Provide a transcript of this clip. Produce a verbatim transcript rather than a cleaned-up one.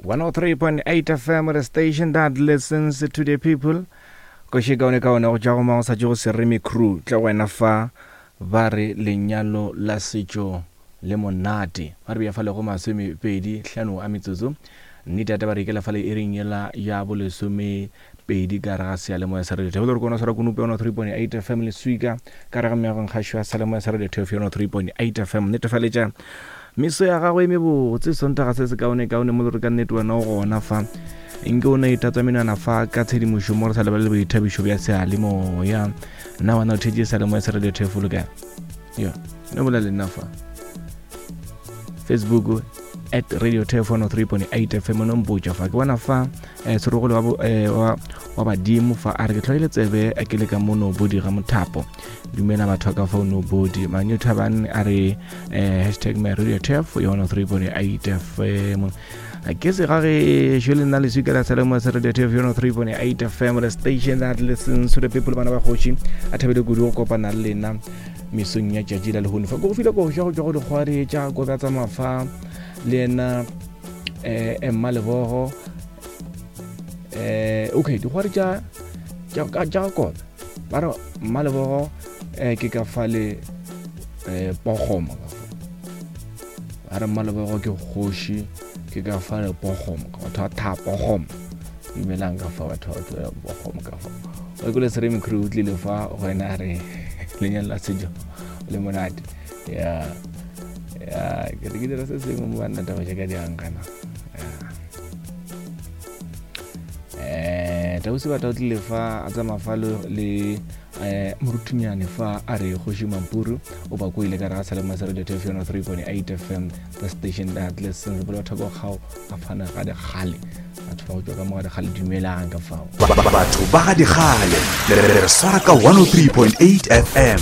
one oh three point eight F M, the station that listens to the people. Koši kaone kaone go tša go mang sa tšego seremi crew tla wena fa ba re lenyalo la setšo le monate. Ba re bja fa le go masomepedi hlano a metsotso. Nnete ya taba re ikela fa le iring yela ya bolesome pedi ka re ga seyalemoya sa Radio Thebe. Re kona swara konopi one oh three point eight F M le swika ka re ga meagong kgašo ya seyalemoya sa Radio Thebe one oh three point eight F M. Netefaletša meso ya gagwe e mebotse Sontaga se se kaone kaone mo le re ka nnete wena o gona fa. Nke o ne itatswa menwana fa ka tshedimošo mo re sa lebale boithabišo bja seyalemoya. Nna wena o thetse seyalemoya sa Radio Thebe le kae? Yo, no bolela le nna fa. Facebook at Radio Thebe one oh three point eight F M no mpotša fa. Ke bona fa eh serogolo wa eh wa wa badimo fa a re ke tlhoile tsebe a ke le ka mono bodi ga mothapo. Dumela batho ka fa no bodi. Manyo Thabane a re eh hashtag my Radio Thebe one oh three point eight F M. Ke se ga ge jele nna le swika la seyalemoya sa Radio Thebe one oh three point eight F M, the station that listens to the people. Bana ba kgoši a thabile kudu go kopana le lena mesong ya tšatši la lehono. Fa go file go ja go tšwa go dikgwari tša go bja tsa mafa le yena eh Emma Lebogo eh okay dikgwari tša tša tša kobe ba re Mma Lebogo eh ke ka fa le eh Pogoma ka fa ba re Mma Lebogo ke kgoši ke ka fa le Pogoma ka batho ba tha Pogoma dumelang ka fa batho ba Pogoma ka fa o ke le seremi crew o tlile fa go ena re lenyalo la setšo le monate ya ya ke re ke dira se sengwe mo banna taba tša ka diankana eh tausi batho o tlile fa a tsamaya fa le eh moruthunyane fa a re kgoši Mampuru o ba koile ka re ga seyalemoya sa Radio Thebe one oh three point eight F M, the station that listens. Bolo batho ba kgao a fana ga dikgale batho ba go tšwa ka mo ga dikgale dumelang ka fao batho ba ga dikgale le re swara ka one oh three point eight F M.